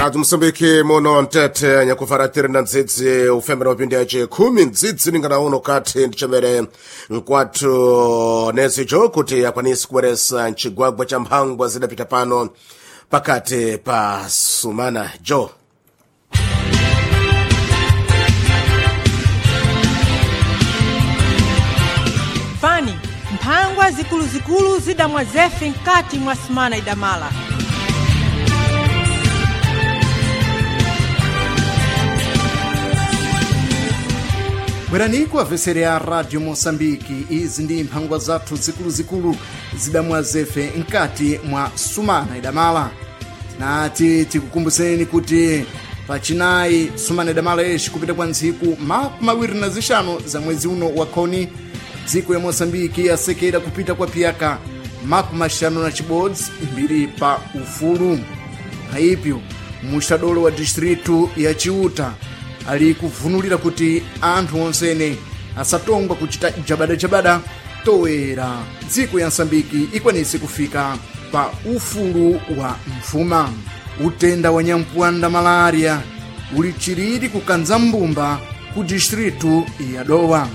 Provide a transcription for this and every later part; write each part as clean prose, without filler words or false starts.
Rádio Moçambique muno mtete nyakufaratiri na ndzidzi ufembera mapindi ace khumi ndzidzi ningana uno kati ndichamere nkwathu nezijo kuti akwanisi kubweresa mcigwagwa cha mphangwa zidapita pano pakati pa sumana jo. Fani, mphangwa zikuluzikulu zidamwa zefe mkati mwa sumana idamala. Bweraniko amvesere a Rádio Moçambique. Izi ndi mphangwa zathu zikuluzikulu zidamwa zefe mkati mwa sumana idamala. Nati tikukumbuseni kuti pachinayi sumana idamala yeshi kupita kwa ntsiku 25 za mwezi uno wa khoni, dziko ya Moçambique yasekera kupita kwa piyaka 51 mbiri pa ufulu. Aipyo muxadolo wa distritu ya Chiuta ali kuvunulira kuti anthu onsene asatongwa kuchita jabadajabada toera dziko ya Msambiki ikwanise kufika pa ufulu wa mfuma. Utenda wa nyampuanda malaria uli chiriri kukanza mbumba ku distritu ya Dowa.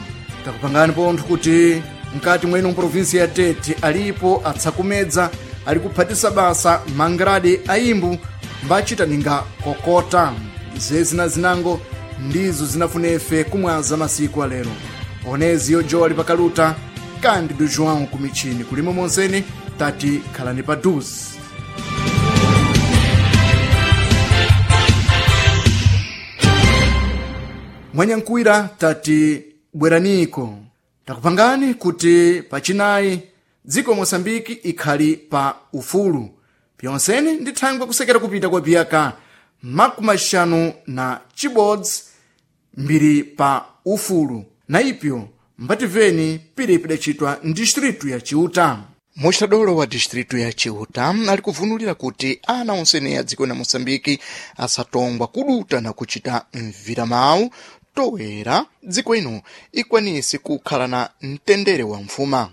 Takupangani pontho kuti mkati mwenu mprovinsi ya Tete alipo atsakumedza ali kuphatisa basa mangrade aimbu mbachita ninga kokota. Zezi na zinango ndizo zinafunefe kumwaza masiku alero. Oneziyo jo ali pakaluta Cândido João kumichini kulimo monseni tati khalani pa duzi. Mwanyankuwira tati bweraniko takupangani kuti pachinayi dziko Moçambike ikhali pa ufulu pyonseni ndi thangwe kusekera kupita kwa piyaka 51 mbiri pa ufulu na ipyo mbativeni pili pidacitwa mdistritu ya Chiuta. Muxadolo wa distritu ya Chiuta ali kuvunulira kuti ana onsene ya dziko la Moçambike asatongwa kuduta na kuchita mviramawu toera dziko ino ikwanise kukhala na mtendere wa mfuma.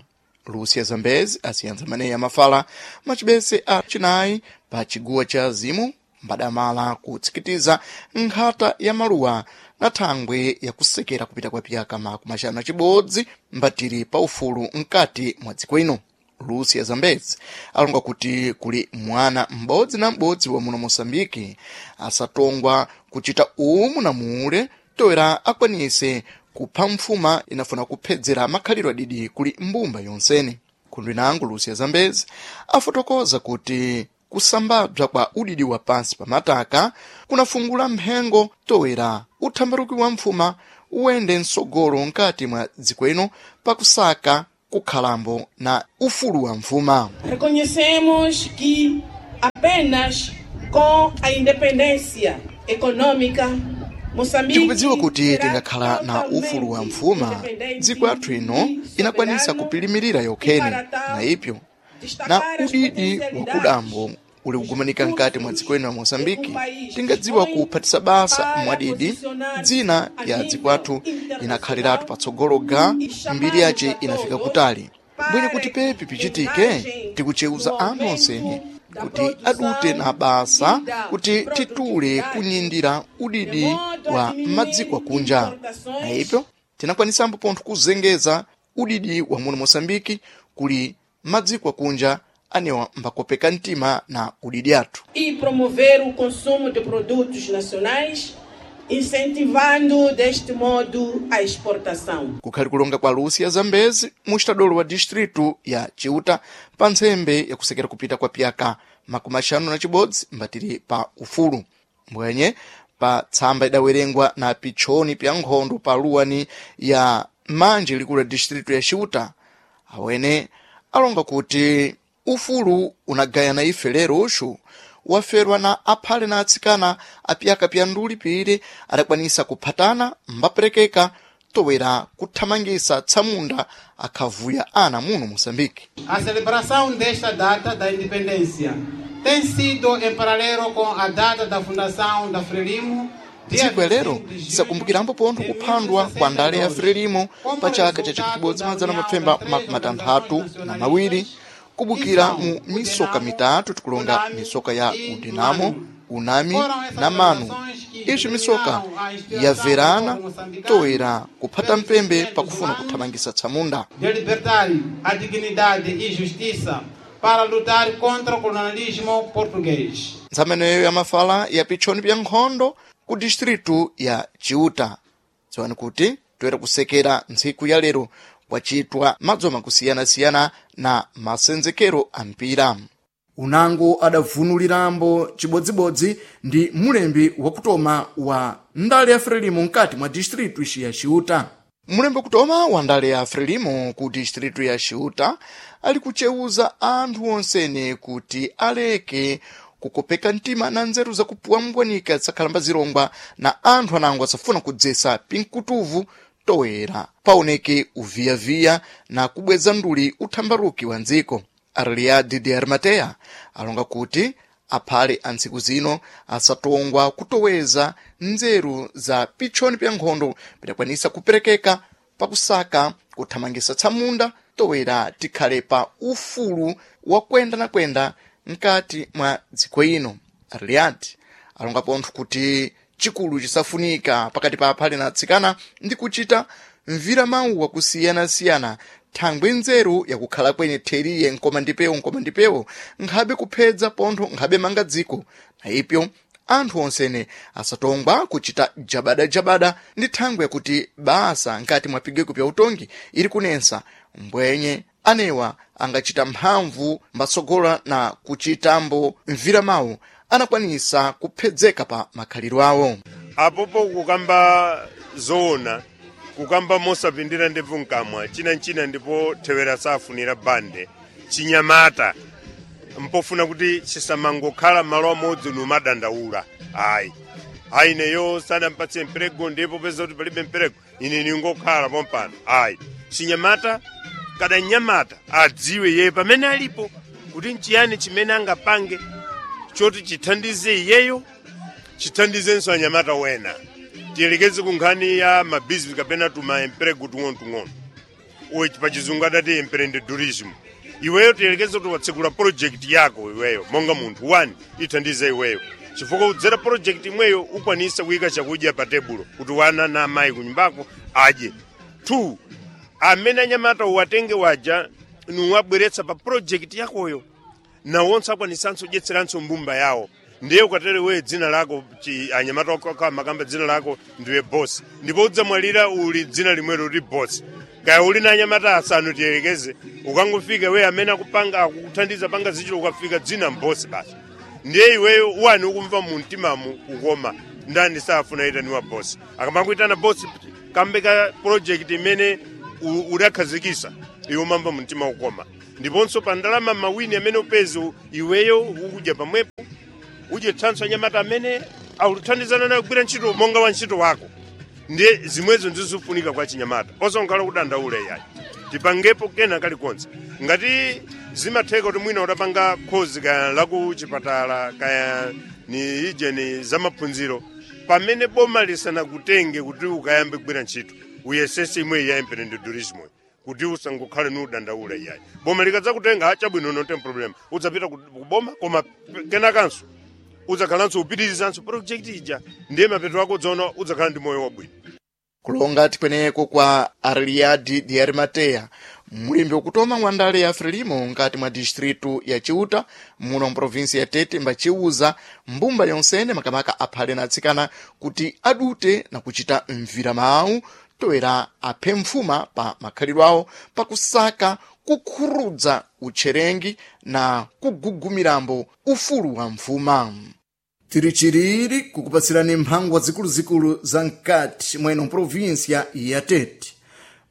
Lúcia Zambezi asiyantsa maneyi amafala macibese a chinayi pa chiguwa cha azimu mbadamala kutsikitiza nkhata ya maluwa na thangwe yakusekera kupita kwa piyaka 51 mbatiri pa ufulu mkati mwa dziko ino. Lúcia Zambezi alonga kuti kuli mwana m'bodzi na m'bodzi wa muno Moçambike asatongwa kuchita umu na mule toera akwanise kupha mfuma inafuna kuphedzera makhalidwe adidi kuli mbumba yonsene. Khundu inango Lúcia Zambezi afotokoza kuti kusambabza kwa udidi wa pansi pa mataka kunafungula mphengo toera uthambaruki wa mfuma uwende msogolo mkati mwa dziko ino pakusaka kukhalambo na ufulu wa mfuma. Reconhecemos que apenas com a independência econômica Moçambique Tikudziwa kuti será tingakhala na ufulu wa totalmente mfuma, independente dziko yathu ino e inakwanisa soberano kupilimirira e yokhene para tal na ipyo na destacar as udidi potencialidades wakudambo uli kugumanika dos mkati mwa dziko ino la recursos Moçambike, que o país tingadziwa dispõe kuphatisa basa para mwadidi posicionar-se dzina a ya nível dziko athu inakhaliratu patsogolo ga e chamar mbiri yace a inafika todos kutali. Bwene para kuti que pepi pichitike engajem tikucheuza no anthu onsene aumento da kuti adute na produção basa e da kuti titule produtividade, kunyindira de udidi modo a wa diminuir madziko akunja. Na importações ipyo tinakwanisambo pontho kuzengeza udidi wa muno Moçambike kuli madziko akunja anewa mbakopeka mtima na udidi athu. e promover o consumo de produtos nacionais, incentivando deste modo a exportação. Kukhali kulonga kwa Lúcia Zambezi muxitadolo wa distritu ya Chiuta pa ntsembe yakusekera kupita kwa piyaka 51 mbatiri pa ufulu. Mbwenye pa tsamba idawerengwa na pitchoni pya nkhondo pa luwani ya manje likulu la distritu ya Chiuta awene alonga kuti ufulu unagayana ife lero uxu waferwa na aphale na atsikana apiyaka pya nduli pili adakwanisa kuphatana mbaperekeka towera kuthamangisa tsamunda akhavuya ana muno Moçambique. A celebração desta data da independência tem sido em paralelo com a data da fundação da Frelimo, dia Dziko lero 25 de julho tisakumbukirambo pontho de kuphandwa kwa ndale ya 1962, Frelimo como pa chaka cha resultado da união das três 1962 organizações nacionalistas. Kubukira mu misoka mitatu, tikulonga misoka ya Udinamo, Unami na Manu. Izvi misoka yabverana toera kuphata mpembe pakufuna kuthamangisa tsamunda. De libertar a dignidade e justiça para lutar contra o colonialismo português. Ntsameneyo ya mafala ya pitchoni pya nkhondo ku distritu ya Chiuta. Dziwani kuti toera kusekera ntsiku ya lero kwacitwa madzoma kusiyanasiyana na masenzekero a mpira. Unango adavunulirambo chibodzibodzi ndi mulembi wakutoma wa ndale ya Frelimo mkati mwa distritu ici ya Chiuta. Mulembi wakutoma wa ndale ya Frelimo ku distritu ya Chiuta ali kucewuza anthu onsene kuti aleke kukopeka mtima na nzeru zakupuwambwanika zakhalamba zirongwa na anthu anango asafuna kudzesa pinkutuvu toera paoneke uviyaviya na kubweza nduli uthambaruki wa ndziko. Arliadi de Arimateya alonga kuti aphale a ntsiku zino asatongwa kutoweza nzeru za pitchoni pya nkhondo pidakwanisa kuperekeka pakusaka kuthamangisa tsamunda towera tikhale pa ufulu wa kwenda na kwenda mkati mwa dziko ino. Arliadi alonga pontho kuti chikulu chisafunika pakati pa aphale na atsikana ndi kuchita mvira mawu akusiyana-siyana thangwe nzeru yakukhala kwenye theriye nkoma ndipewo nkoma ndipewo nkhabe kuphedza pontho nkhabe manga dziko. Na ipyo anthu onsene asatongwa kuchita jabadajabada ndi thangwe yakuti basa nkati mwa pigeko pya utongi ili kunensa mbwenye anewa angachita mphamvu mbatsogola na kuchitambo mvira mawu anakwanisa kuphedzeka pa makhalidwe awo. Apopo kukamba zoona, kukamba mosapindira ndebvu mkamwa, chinanchina ndipo thewera safunira bande chinyamata mpofuna kuti chisamangokhala malo amodzi numadandaula. Ayi, ayi, neyo sanampatse mperego, ndipo peza kuti palibe mperego ine ningokhala pompano. Ayi, chinyamata kada nyamata adziwe yeye pamene alipo kuti nchiyani chimene angapange choti chithandize iyeyo, chithandizenso anyamata wena. Tiyelekeze ku nkhani ya mabizinesi kapena tuma emprego tung'ono-tung'ono, uwe pachizungu adati empreendedorism. Iweyo tiyelekeze kuti watsekula project yako iweyo monga munthu wani, ithandize iweyo chifukwa udzera project imweyo ukwanisa kuyika chakudya pa tebulo kuti wana na amayi kunyumbako adye. 2 amene anyamata uwatenge waja nuwabweretsa pa project yakoyo, nawonso akwanisanso kudyetseranso mbumba yawo. Ndiye ukatere wewe dzina lako anyamata okha makamba dzina lako ndiwe boss, ndipo udzamwalira uli dzina limwelo uli boss. Kaya uli na anyamata asanu tiyelekeze, ukangofika wewe amene akupanga akukuthandiza panga zichilo, ukafika dzina mbosi basi. Ndiye iweyo wani ukumva mu mtimamu kukoma, ndani safuna itaniwa boss? Akamakuitana boss kambe ka project imene udakhazikisa, iwe umamva mu mtima kukoma. Ndiponso pa ndalama mawini amene upeze iweyo ukudya pamwepo, udyetsanso anyamata amene akuthandizana nayo kugwira ntchito monga wa ntchito wako. Ndiye zimwezo ndizofunika kwa chinyamata, osankhala kudandaula iyayi. Tipangepo kena kalikonse ngati zimatheka kuti mwina udapanga khozi kaya laku chipatala kaya ni ije ni zamaphunziro, pamene boma lisanakutenge kuti ukayambe kugwira ntchito, uyesese imwe ya empreendedorismo kuti usangokhale nudandaula iyayi. Boma likadzakutenga, chabwino, no problem, udzapita ku boma, koma kenakanso udzakhalanso upitirizanso project ija. Ndiye mapeto ako udzaona udzakhala ndi moyo wabwino. Kulonga tikweneko kwa Arliadi de Arimateya, mulembi wakutoma wa ndale ya Frelimo nkati mwa distritu ya Chiuta muno mprovinsi ya Tete, mbaciuza mbumba yonsene makamaka aphale na atsikana kuti adute na kuchita mvira mawu toera aphe mfuma pa makhalidwe awo pakusaka kukhurudza utcherengi na kugugumirambo ufulu wa mfuma. Tiri chiriri kukupatsirani mphangwa zikuluzikulu za mkati mweno provinsia ya Tete,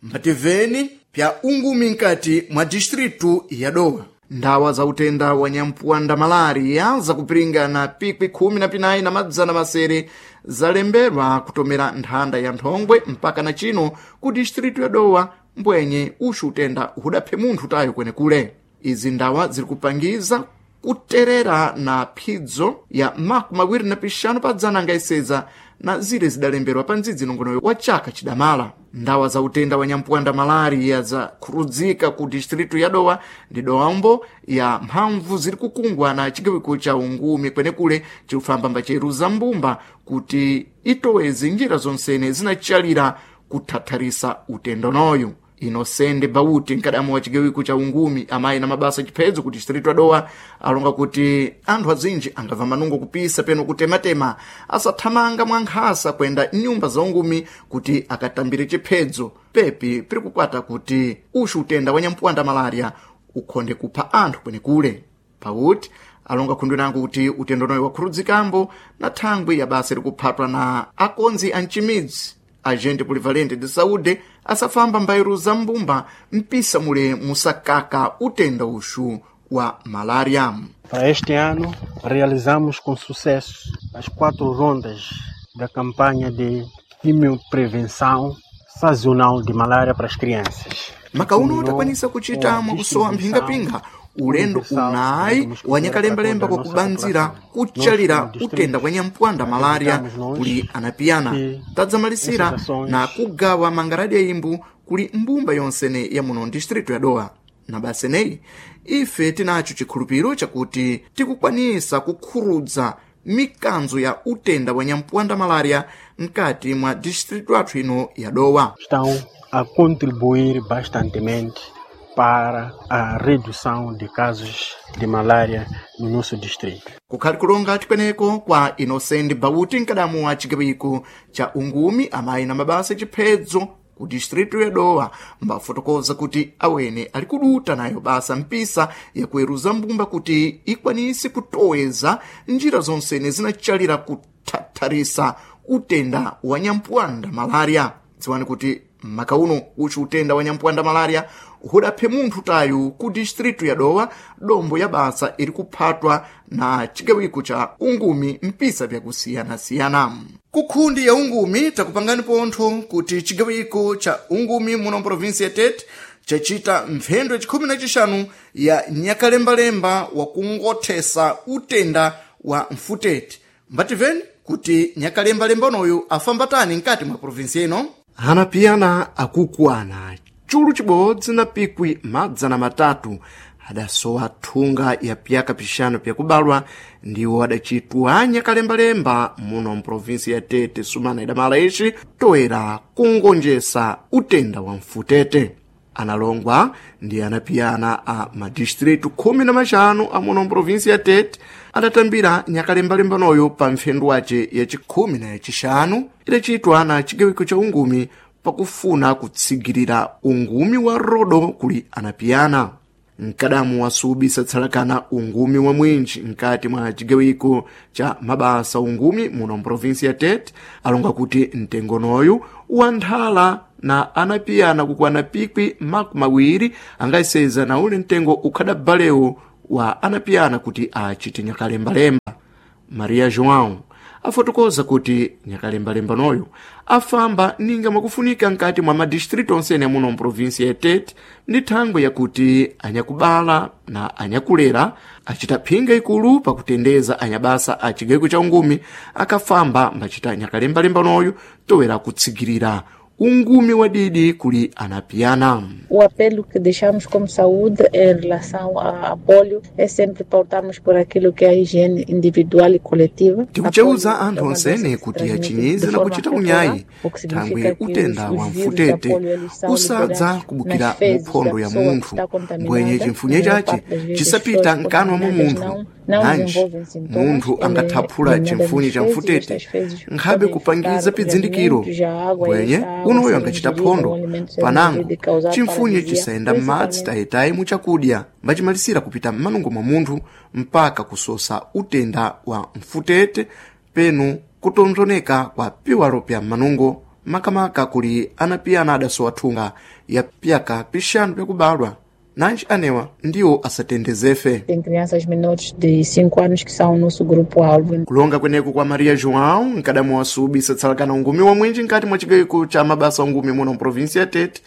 mbativeni pya ungumi mkati mwa distritu ya Dowa. Ndawa za utenda wa nyampuwanda malaria zakupiringana pikwi 17,600 zalembedwa kutomera nthanda ya nthongwe mpaka na chino ku distritu ya Dowa, mbwenye uxu utenda hudaphe munthu tayo kwenekule. Izi ndawa ziri kupangiza Kuterera na phidzo ya 25 pa dzana angaiseza na zile zidalemberwa pa ndzidzi nongonoyo wa chaka chidamala. Ndawa za utenda wa nyampuwanda malaria zakhurudzika ku distritu ya Dowa ndi Dowambo ya mphamvu ziri kukungwa na chigawiko cha ungumi kwenekule chikufamba mbacheruza mbumba kuti itoweze njira zonsene zinachalira kuthatharisa utendonoyu. Inosende Bauti, mkadamu wa chigawiko cha ungumi amayi na mabasa chiphedzo ku distritu ya Dowa, alonga kuti anthu azinji angamva manungo kupisa peno kutematema asathamanga mwa nkhasa kuyenda nyumba za ungumi kuti akatambire chiphedzo pepi piri kukwata kuti uxu utenda wa nyampuwanda malaria ukhonde kupha anthu kwenekule. Pauti alonga khundwe nango kuti utendonoyo wakhurudzikambo na thangwi ya basa likuphatwa na akonzi a mchimidzi agente polivalente de saúde asafamba mbairo za mbumba mpisa mule musakaka utenda uxu wa malaria. Para este ano, realizamos com sucesso as 4 rondas da campanha de quimioprevenção sazonal de malária para as crianças. Makauno takwanisa kuchita mwakusowa mphingapinga ulendo unayi wanyakalembalemba kwakubanzira kuchalira utenda kwa nyampuwanda malaria kuli anapiyana. Tadzamalisira na kugawa mangaradi ya imbu kuli mbumba yonsene ya muno distritu ya Dowa. Na baseneyi ife tinacho chikhulupiriro chakuti tikukwanisa kukhurudza mikanzo ya utenda wa nyampuwanda malaria mkati mwa distritu athu ino ya Dowa. Estão a contribuir bastantemente para a redução de casos de malária no nosso distrito. Kukhali kulonga tikweneko kwa Inocente Bauti, mkadamu wa chigawiko cha ungumi amayi na mabasa chiphedzo ku distritu ya Dowa, mbafotokoza kuti awene ali kuduta nayo basa mpisa yakuweruza mbumba kuti ikwanise kutoweza njira zonsene zinachalira kuthatharisa utenda wa nyampuwanda malaria. Dziwani kuti makauno uchi utenda wa nyampuwanda malaria hudaphe munthu tayu ku distritu ya Dowa, dombo ya basa iri kuphatwa na chigawiko cha ungumi mpisa vyakusiyanasiyana. Kukhundi ya ungumi takupangani pontho kuti chigawiko cha ungumi muno provinsi ya Tete chachita mphendo yachikhumi na chixanu ya nyakalembalemba wakungothesa utenda wa mfutete. Mbativeni kuti nyakalembalemba unoyu afambatani mkati mwa provinsi ino. Anapiyana akukwana chulu chibodzi na pikwi 300 adasowa thunga ya pyaka pixanu pyakubalwa ndiwo adacitwa nyakalembalemba muno mprovinsi ya Tete sumana idamala ixi toera kungonjesa utenda wa mfutete. Analongwa ndi anapiyana a madistritu 15 a muno mprovinsi ya Tete adatambira nyakalembalembanoyo pa mphendu wace yacikhumi na yacixanu idacitwa na chigawiko cha ungumi pakufuna kutsigirira ungumi wa rodo kuli anapiyana. Mkadamu wasubisa tsalakana ungumi wa mwinji mkati mwa chigawiko cha mabasa ungumi muno mprovinsi ya Tete alonga kuti mtengonoyu wanthala na anapiyana kukwana pikwi 20 angaiseza na ule mtengo ukhadabalewo wa anapiyana kuti achite nyakalembalemba. Maria João afotokoza kuti nyakalembalembanoyo afamba ninga mwakufunika nkati mwa madistritu onsene amuno mprovinsi ya Tete ndi thangwe yakuti anyakubala na anyakulera acita phinga ikulu pakutendeza anyabasa a chigayiko cha ungumi akafamba mbacita nyakalembalembanoyo towera kutsigirira ungumi wa didi kuli anapiyana. O apelo que deixamos como saúde em relação à polio é sempre pautarmos por aquilo que é a higiene individual e coletiva. Tikucheuza anthu onsene kuti achinyize na kuchita unyayi thangwi utenda wa mfutete usadza kubukira muphondo ya munthu mbwenye chimfunye chace chisapita mkanwa mwa munthu nanji munthu angathaphula chimfunye cha mfutete nkhabe kupangiza pidzindikiro mbwenye unoyo angachita phondo panango chimfunye chisayenda m'madzi tayitayi muchakudya mbachimalisira kupita m'manungo mwa munthu mpaka kusosa utenda wa mfutete penu kutonzoneka kwa piwalo pya m'manungo makamaka kuli anapiyana adasowa thunga ya pyaka pixanu pyakubalwa nanji anewa ndiwo asatendezefe. Tem crianças menores de 5 anos que são o nosso grupo-alvo. Kulonga kweneku kwa Maria João, mkadamu wa subi satsalakana ungumi wa mwinji nkati mwa chigayiko cha mabasa ungumi muno mprovinsi ya Tete,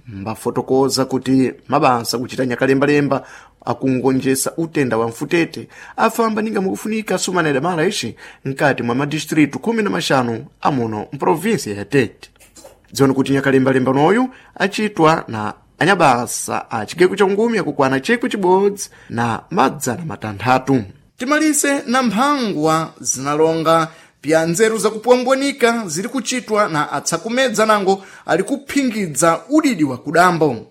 mbafotokoza kuti mabasa kuchita nyakalembalemba akungonjesa utenda wa mfutete afamba ninga mukufunika sumana idamala ixi nkati mwa madistritu 15 amuno mprovinsia ya Tete. Dziwani kuti nyakalembalemba noyu acitwa na anyabasa a chigeko cha ngumi akukwana 6,600. Timalise na mphangwa zinalonga pya nzeru zakupwambwanika ziri kuchitwa na atsakumedza nango ali kuphingidza udidi wa kudambo.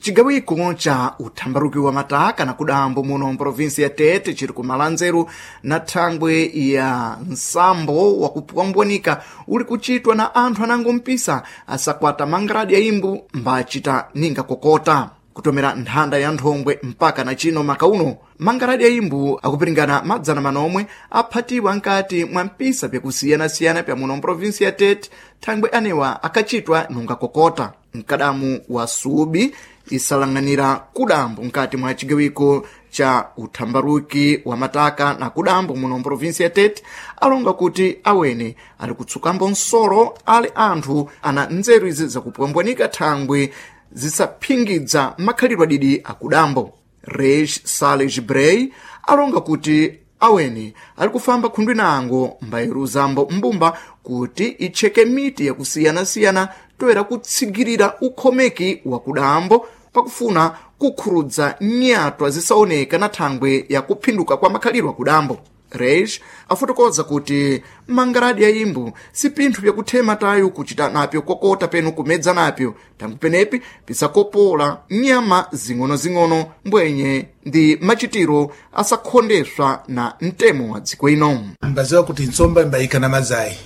Cigawiko cha uthambaruki wa mataka na kudambo muno mprovinsi ya Tete chiri kumala nzeru na thangwe ya nsambo wa kupwambwanika uli kuchitwa na anthu anango mpisa asakwata mangradi ya imbu mbacita ninga kokota kutomera nthanda ya nthongwe mpaka na chino maka uno mangaradi ya imbu akupiringana madzana manomwe aphatiwa nkati mwa mpisa pyakusiyanasiyana pya muno mprovinsi ya Tete thangwe anewa akachitwa nunga kokota. Mkadamu wa subi isalang'anira kudambo nkati mwa cigawiko cha uthambaruki wa mataka na kudambo muno mprovinsi ya Tete alonga kuti awene ali kutsukambo nsolo ali anthu ana nzeru izi zakupwambwanika thangwe zisaphingidza makhalidwe adidi akudambo. Reis Sales Brey alonga kuti awene ali kufamba khundwi nango mbayeruzambo mbumba kuti itcheke miti yakusiyanasiyana toera kutsigirira ukhomeki wa kudambo pakufuna kukhurudza nyatwa zisaoneka na thangwe ya kuphinduka kwa makhalidwe akudambo. Reis afotokoza kuti mangaradi ya imbu si pinthu pyakuthema tayo kuchita napyo kokota penu kumedza napyo tangu penepi pisakopola nyama zing'onozing'ono mbwenye ndi machitiro asakhondeswa na mtemo wa dziko ino. Mbaziwa kuti nsomba imbayika na mazai.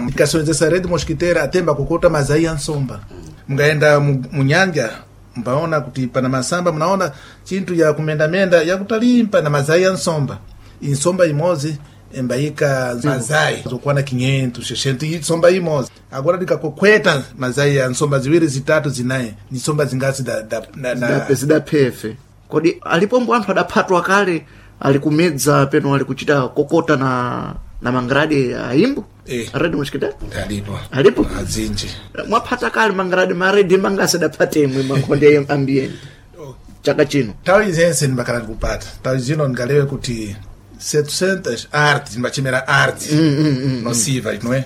Ikasonzesa red mosquiteira atemba kukota mazai ya nsomba. Mungayenda munyanja mbaona kuti pana masamba mnaona chinthu ya kumendamenda yakutalimpa na mazai ya nsomba. Insomba imozi embayika mazai zokwana 500 600 insomba imozi. Agora ndikakokweta mazai ya nsomba ziwiri zitatu zinayi ni nsomba zingasi zidaphefe. Kodi alipombo anthu adaphatwa kale ali kumedza peno ali kuchita kokota na mangradi a imbu? Red mosquiteira alipo alipo azinji mwaphata kale mangradi maredi mangasi adaphatemwe makhonde ambiyeni chaka chino. Nthawi zense ndimakhala ndikupata nthawi zino ndingalewe kuti 700 arte ndimachemera arte nociva não é?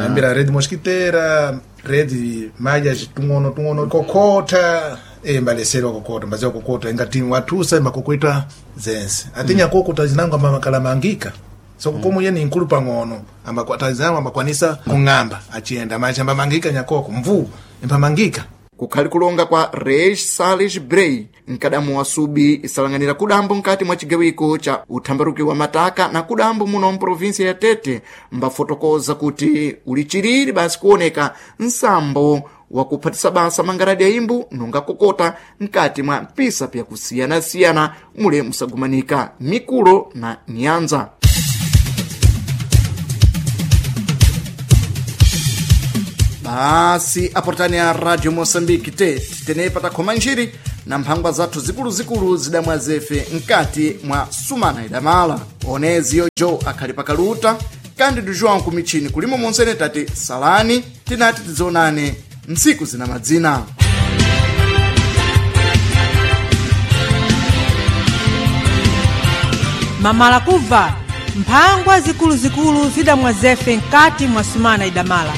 Ambira rede mosquiteira, rede malhas tung'ono tung'ono kokota mbalesera kokota mbaziwa kokota ingati watusa mbakokweta zense atinya kokota zinango ambamakala mangika so komo yeni nkulu pang'ono ambakwatazama ambakwanisa kung'amba achiyenda machi ambamangika nyakoko mvuu impamangika. Kukhali kulonga kwa Reis Sales Brey mkadamu wa subi isalang'anira kudambo nkati mwa cigawiko cha uthambaruki wa mataka na kudambo muno mprovinsia ya Tete mbafotokoza kuti uli chiriri basi kuoneka nsambo wakuphatisa basa mangaradi ya imbu nunga kokota nkati mwa mpisa pyakusiyanasiyana mule musagumanika mikulo na nyanza. Basi aportani ya Radio Mosambiki te tenepa takhoma njiri na mphangwa zathu zikuluzikulu zidamwa zefe nkati mwa sumana idamala. Oneziyo jo akhali pakaluta Cândido João kumichini kulimo monsene tati salani tinati tidzonane msiku zina madzina. Mamala kubva mphangwa zikuluzikulu zidamwa zefe nkati mwa sumana idamala.